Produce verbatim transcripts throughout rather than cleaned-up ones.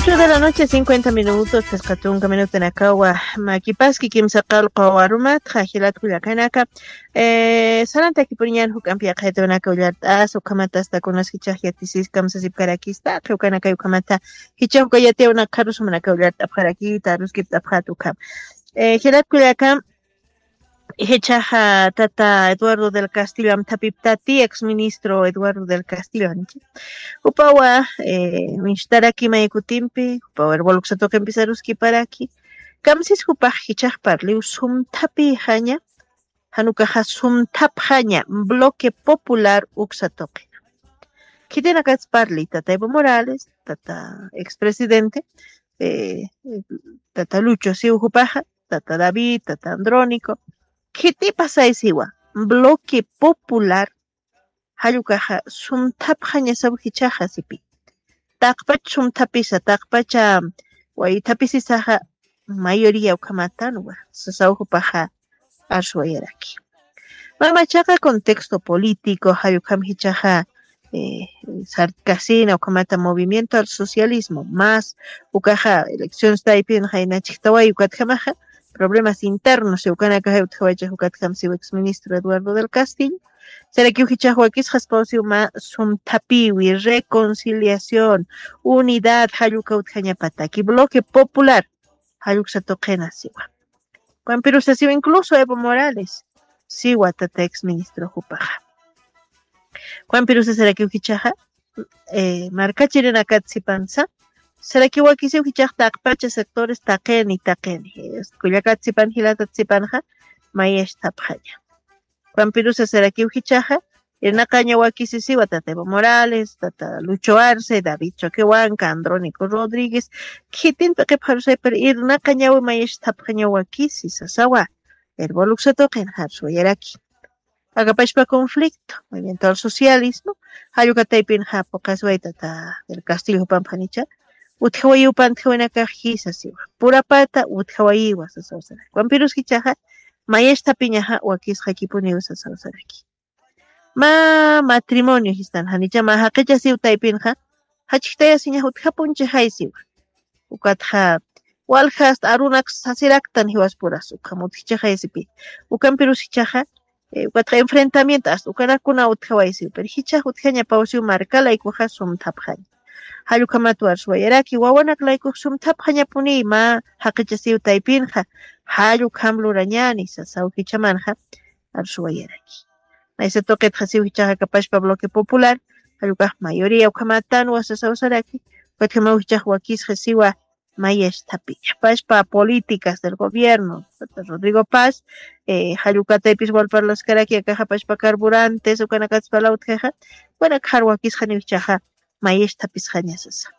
Ocho de la noche, cincuenta minutos, phisqa tunka minutanakawa makipaski kimsa qallqu arumatxa, jilat kullakanaka. Eh, sarantakipuniñan juk'ampi yaqaytawanaka ullart'as, ukhamatasta kunas jichhax yatisis kamsasipkarakista, qhiwkanaka ukhamata jichhax uka yatiyawanaka rusumanaka ullart'apxarakita, ruskipt'apxat ukham. Eh, jilat kullaka, jichhaxa tata Eduardo del Castillo amthapiptati, ex ministro Eduardo del Castillo, anchi. Upawa, eh, minchtaraki may kutimpi, upawa, herboluksa tuqimpi saruskiparaki. Kamsis jupax jichhax parliw sumthapixaña, janukaxa sumthapxaña, bloque popular uksa tuqi. Khitinakats parli, tata Evo Morales, tata expresidente, eh, tata Lucho siw jupaxa, tata David, tata Andrónico, khitipasay siwa, bloque popular, jallukaxa sumthapxañasaw jichhaxa sipi. Taqpach sumthapisa, taqpacha waythapisisaxa mayoría ukhamatanwa, sasaw jupaxa arswayaraki. Mamachaqa contexto político, jallukam jichhaxa, eh, sartkasina, ukhamata movimiento al socialismo, más ukaxa elecciones taypin jaynachktawayi, ukatjamaxa problemas internos, ukanakaxa utjawacha, ukatjam siw ex ministro Eduardo del Castillo. Sarakiw jichhax wakisxaspaw siw mä sumthapiwi, reconciliación, unidad, jalluka utjañapataki, bloque popular, jalluksa tuqina siwa. Juan Pirusa siwa, incluso Evo Morales siwa, tata ex ministro jupaxa. Juan Pirusa sarakiw jichhaxa, eh, markachirinakat sipansa, sarakiw wakisiw jichhax taqpacha sectores taqini, taqini. Eh, kullakat sipan, jilatat sipanxa, mayachtapxaña. Juan Pirusa sarakiw jichhaxa, irnaqaña wakisisiwa, tata Evo Morales, tata Lucho Arce, David Choquehuanca, Andrónico Rodríguez, khitin p'iqipxarusay, pero irnaqañawi mayachtapxaña wakisi, sasawa. Herboluksa tuqin arswayaraki. Akapachpa conflicto, movimiento al socialismo, jallukataypinxa puqasway tata del Castillo jupamphanicha, utjawayiw pantjawinakax jisa siwa. Purapata utjawayiwa, sasaw saraki. Juan Pirusa jichhaxa, mayachthapiñaxa wakisxakipuniw, sasaw saraki. Mä matrimonio jistan, janicha mä jaqicha siw taypinxa, jachktayasiñax utjapunchixay siwa. Ukatxa, walja hasta arunak sasiraktan jiwaspuras, ukham utjchixay sipi. Ukampirus jichhaxa, eh, ukatxa enfrentamiento, hasta ukanakuna utjaway siw. Pero jichhax utjañapaw siw marka laykuxa sumthapxaña. Jallukhamat arswayaraki, wawanak laykux sumthapxañapuni mä jaqicha siw taypinxa, jallukam lurañani, sasaw jichhamanxa arswayaraki. Maysa tuqitxa siw jichhaxa akapachpa bloque popular, jallukhax mayoría ukhamatanwa, sasaw saraki, ukatjamaw jichhax wakisxa siwa, mayachthapiña. Pachpa políticas del gobierno, Rodrigo Paz, eh, jallukataypis wal parlaskaraki, akaxa pachpa carburantes, ukanakatspala utjaxa, ukanakxar wakisxaniw jichhaxa, mayachthapisxaña sasa.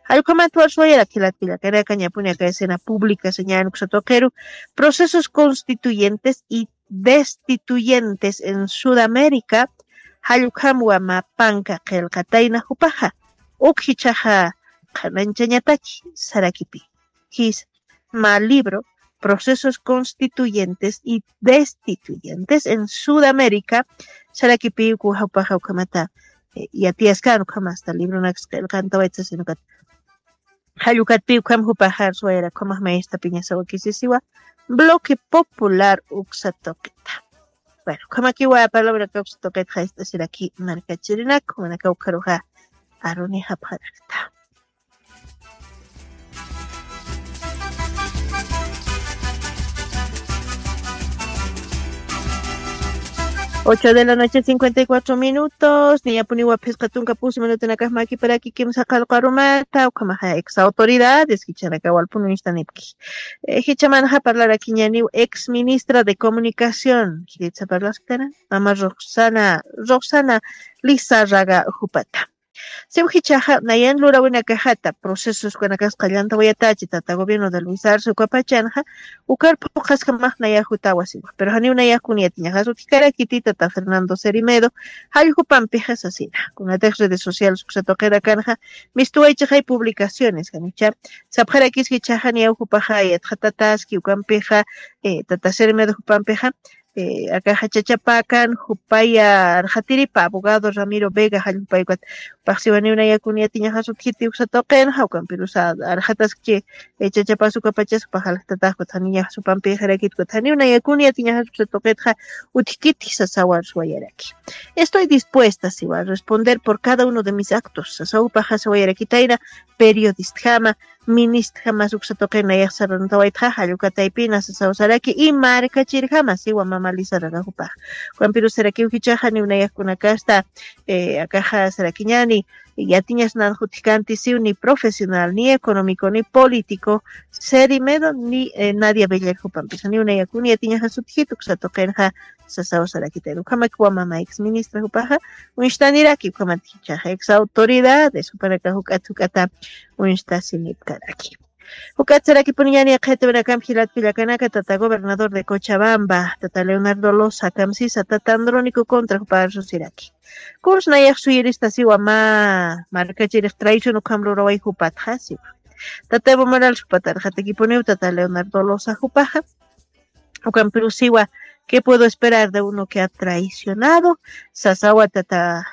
Jallukhamat arswayaraki, jilat kullakanaka, ñapuni aka escena pública, señal uksa tuqiru, procesos constituyentes y destituyentes en Sudamérica, jallukhamwa mä panka qillqatayna jupaxa, uk jichhaxa qhananchañataki, sarakipi. Jis mä libro, Procesos Constituyentes y Destituyentes en Sudamérica, sarakipi uk jupaxa ukhamata, eh, yatiyaskan, ukhamasta libronaks qillqantawayta sasin ukat. Jallukatpi ukham jupaxa arswayara, ukhamax mayachthapiñasa wakisisiwa, bloque popular uksa tuqita. Bueno, ukhamakiwa palabra uksa tuqitxa ist'asiraki markachirinak, jumanakaw ukharuxa arunixapxarakta. Ocho de la noche, cincuenta y cuatro minutos. Niyapuniwa phisqa tunka pusi minutanakax makiparaki kimsa qallqu arumata, ukhamaxa ex autoridades, jichanaka walpun uñstanipki. Eh, jichamanxa parlarakiñaniw ex ministra de Comunicación, khiritsa parlaskana, mama Roxana, Roxana Lizárraga jupata. Siw jichhaxa, nayan lurawinakaxata, procesos ukanakas qallantawayatachi, tata gobierno de Luis Arce ukapachanxa, ukar phuqhaskamax nayax jutawasiwa. Pero janiw nayax kun yatiñaxas utjkarakiti, tata Fernando Cerimedo, jallukupampixa sasina. Kunatix redes sociales uksa tuqirakanxa, mistuwaychixay publicaciones, janicha, sapxarakis jichhaxa niyaw jupaxa yatxatataski, ukampixa, eh, tata Cerimedo jupampixa, Akaxa chachapakan jupaya arxatiripa abogado Ramiro Vega jallupayukat. Paxsiwaniw nayakun yatiñaxas utjiti uksatuqinxa ukampirusa arxataskchi. Chachapasukapachas paxalxtataxkut janiñaxas upampixarakitkuta janiw nayakun yatiñaxas uksatuqitxa. Utjkitji sasawarsuwayaraki. Estoy dispuesta siwa responder por cada uno de mis actos sasaw paxasawayarakitayna. Periodistjama ministjama suksatuqina yaxsarantawaitxa jallukataypina sasawsaraki y markachirjama siwa mamalisararajupax. Ukampirusarakiw jichaxa niwnayakkunakasta akaxa sarakiñani. Yatiñas nanxutjkanti siw ni profesional ni económico ni político seri medo ni nadia bellerjupampisa niwnayakun yatiñaxa sutjitu uksatuqinxa. Sasaw sarakitayna ukhamak wamama ex ministra jupaxa uñstaniraki ukhamat jichaxa ex autoridades jupanaka juk'at juk'ata uñstasinipkaraki. Juk'at sarakipuniñani qhitwinakamp jilatkullakanaka tata gobernador de cochabamba tata leonardo losa kamsisa tata andrónico contra jupa arsusiraki. Kuns nayax suyiristasiwa mä markachirix traición ukham luraway jupatxa siwa. Tata evo morales jupatarxatakipuniw tata leonardo losa jupaxa. Ukampirusiwa, qué puedo esperar de uno que ha traicionado? Sasawa tata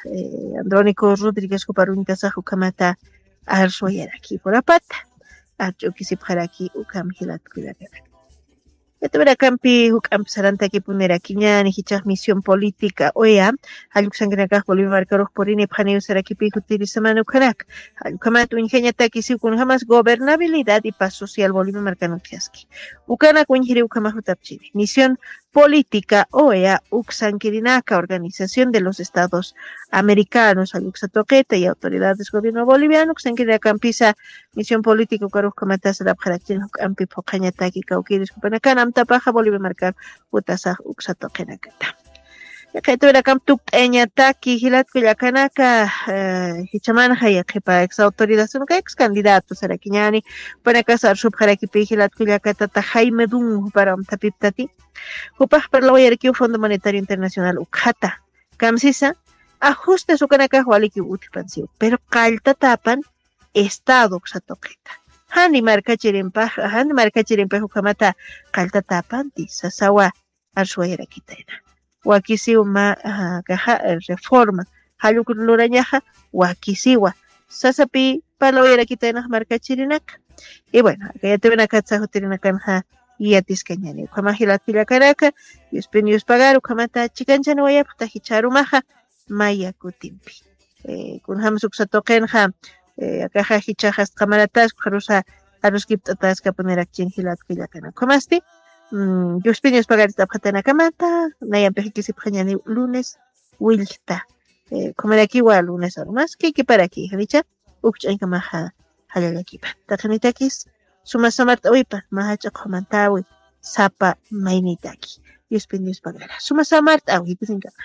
andrónico rodríguez juparuñtasax ukhamata arsuwayaraki jurapata. Arch'ukisipxaraki ukham jilatkullakana. Yatawirakampi juk'ampi sarantakipunirakiñani jichax misión política oea. Jalluksankinakax bolivia markarux purinipxaniw sarakipi jutirisamani ukhanaka. Jallukhamat uñjañataki siw kunjamas gobernabilidad y paz social bolivia markan utjaski. Ukanak uñjiriw ukhamax jutapchini misión política oea uksankirinaka organización de los estados americanos jalluksa tuqita y autoridades gobierno boliviano uksankirinakampisa. Misión política ukarux kamatasarapxarakchina juk'ampi phuqhañataki kawkiris jupanakan amtapaxa bolivia markar jutasax uksatuqinakata. Yaqhaytawirakamp tukt'ayañataki jilatkullakanaka. Jichamanxa yaqhipa ex autoridad sunaka ex candidato sarakiñani jupanakas arsupxarakipi jilatkullakatata jaime dun jupar amtapiptati. Jupax parlawayarakiw fondo monetario internacional ukhata kamsisa ajustes ukanakax walikiw utjipansiw pero qalltatapan estado uksatuqita. Jani markachirimpax jani markachirimpax ukhamata qalltatapanti sasawa. Arsuwayarakitayna wakisiw mä kaxa reforma jalluk lurañaxa wakisiwa sasapi parlawayarakitaynax markachirinaka. Y bueno aka yatiwinakatsa jutirinakanxa yatiskañani ukhamax jilatkullakanaka. Yuspin yuspagar ukhamata chikanchaniwayapxta jichharumaxa maya kutimpi. Kunjam suksa tuqinxa akaxa jichaxas qamaratas ukxarusa aruskipt'ataskapunirakin jilatkullakana ukhamasti. Yuspin yuspagarit'apxatana kamata nayampixikisipxañani lunes willta. Ukhamarakiwa lunes arumas kikiparakixa nicha ukch'ankamaxa. Jallallakipan taqinitakis suma samart'awipan mä jach'a qhumantawi sapa maynitaki. Yuspin yuspagara suma samart'awi jikisinkama.